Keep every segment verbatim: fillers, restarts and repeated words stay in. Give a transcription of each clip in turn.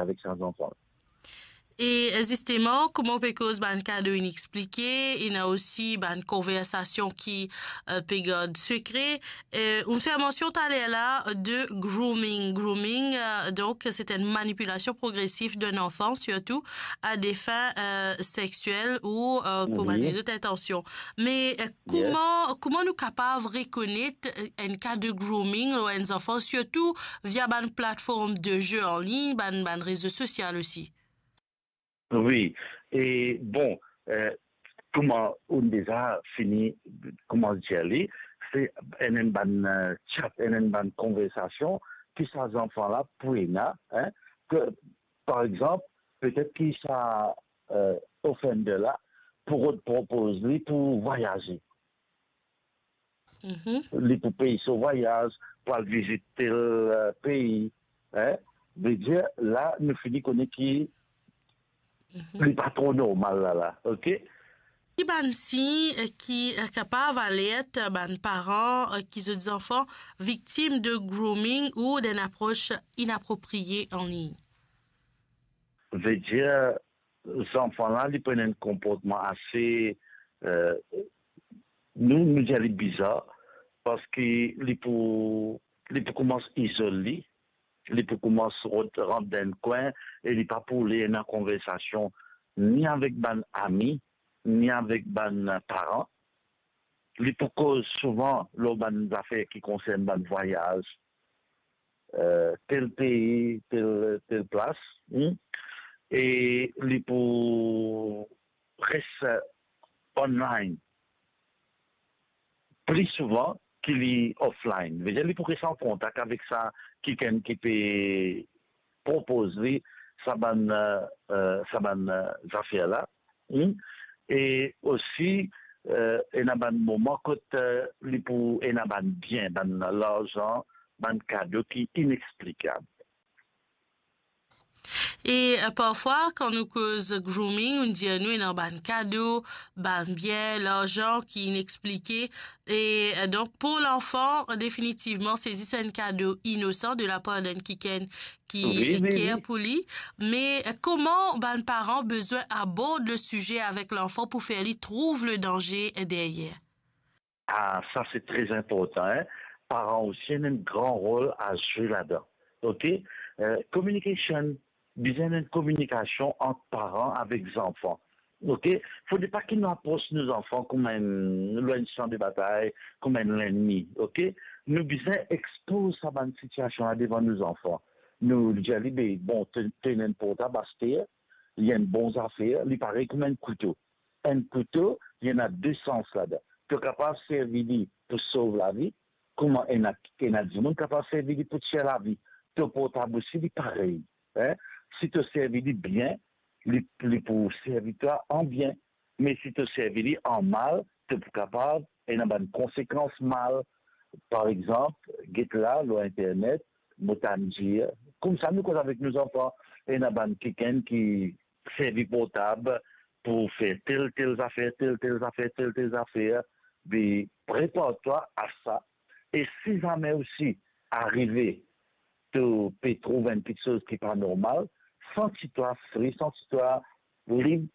avek sa zanfan. E zisteman, kouma ou pe koz bann kado inexplike, ena osi bann konversasion ki, eh, pe gard sekre. Eh, ou fer mansion taler la de grooming. Grooming, eh, donk, se enn manipilasion progresif d'un enfant, sirtou a des fins, eh, sexuelles ou, eh, pou bann lezot intansion. Me, eh, kouma, kouma nou kapav rekonet, eh, enn ka de grooming lor enn zanfan, sirtou via bann platform de ze an lign, bann, bann rezo sosial osi? Wi, e bon, eh, kouma ou deza fini koumans dir li, se enn, enn bann, eh, chat, enn, enn bann konversasion ki sa zanfan la pou ena, en, ke, par exanp, petet ki sa, eh, offender la pou rod propoz li pou vwayaze. Mhm. Li pou pey so vwayaz, pou al vizit tel, eh, pei, en. Vedir, la, nou fini kone ki li pa tro normal la, la, ok? Ki bann sign, eh, ki, eh, kapav alert bann paran, eh, ki zot zanfan viktim de grooming ou d'enn apros inapropriye an lign? Vedir, zanfan la, li pran enn konportman ase, eh, nou, nou dir li bizar, parski li pou, li pou koumans izol li, li pou koumans rant, rant dan enn kwin e li pa pou le ena konversasion ni avek bann ami, ni avek bann paran. Li pou koz souvan lor bann zafer ki konsern bann vwayaz, eh, tel pei, tel, tel plas, hmm? E li pou res, eh, online pli souvan ki li offline. Vedir, li pou res an kontak avek sa kikenn ki pe propoz li sa bann, eh, eh, sa bann, eh, zafer la. Hmm? E osi, eh, ena bann moman kot, eh, li pou ena bann bien, bann larzan, bann kado ki inexplikab. E, eh, parfwa, kan nou koz grooming, nou dir nou ena bann kado, bann bien, larzan ki inexplike. E, eh, donk, pou lanfan, definitivman, se zis enn kado inosan de lapar d'enn kikenn ki, wi, wi, care, wi, pou li. Me, eh, kouma bann paran bizin abord le size avek lanfan pou fer li trouv le danze deryer? Ah, sa se tre inportan, en. Paran osi ena enn gran rol a zwe ladan. Ok? Eh, communication, bizin ena enn kominikasion ant paran avek zanfan. Ok? Fode pa ki nou apros nou zanfan kouma enn, lor enn san de batay, kouma enn lennmi. Ok? Nou bizin expoz sa bann sitiasion la devan nou zanfan. Nou dir li, be, bon, to, to ena enn portab aster, li enn bon zafer, li parey kouma enn kouto. Enn kouto, li ena de sans ladan. To kapav servi li pou sov lavi, kouma ena, ena dimoun kapav servi li pou tir lavi. To portab osi, li parey, en. Si to servi li bien, li, li pou servi twa an bien. Me si to servi li an mal, to pou kapav ena bann konsekans mal. Par exanp, get la lor internet, mo tann dir, koumsa nou koz avek nou zanfan, ena bann kikenn ki servi portab pou fer tel, tel zafer, tel, tel zafer, tel, tel zafer, be prepar twa a sa. E si zame osi arive to pe trouv enn kiksoz ki pa normal, santi twa fri, santi twa lib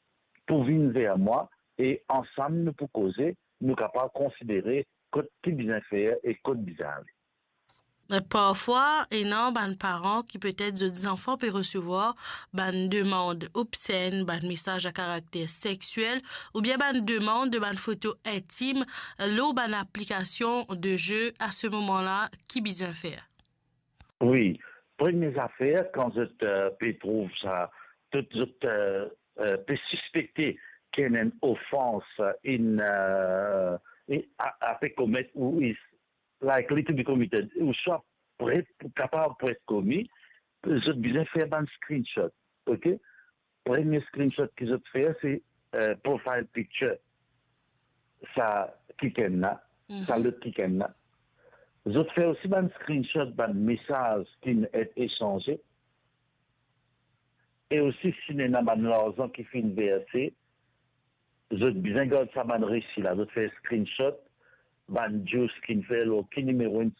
pou vinn ver mwa, e ansam nou pou koze, nou kapav konsidere kot ki bizin fer e kot bizin ale. Parfwa, ena bann paran ki petet zot zanfan pe resevwar bann demann obsenn, bann mesaz a karakter sexiel, oubien bann demann de bann foto intim lor bann aplikasion de ze. A se moman la, ki bizin fer? Wi, premie zafer, kan zot, eh, pe trouv sa, tou zot, eh, eh, pe sispekte ki ena enn ofans, enn, eh, e a, a pe komet ou is likely to be committed, ouswa pre, kapav pou et komi, zot bizin fer bann screenshot, ok? Premie screenshot ki zot fer, se, eh, profile picture sa kikenn la, mhm, sa lot kikenn la. Zot fer osi bann screenshot, bann mesaz ki'nn et esanze. E osi, si ena bann larzan ki finn verse, zot bizin gard sa bann resi la, zot fer screenshot, bann juice ki'nn fer lor ki nimero inn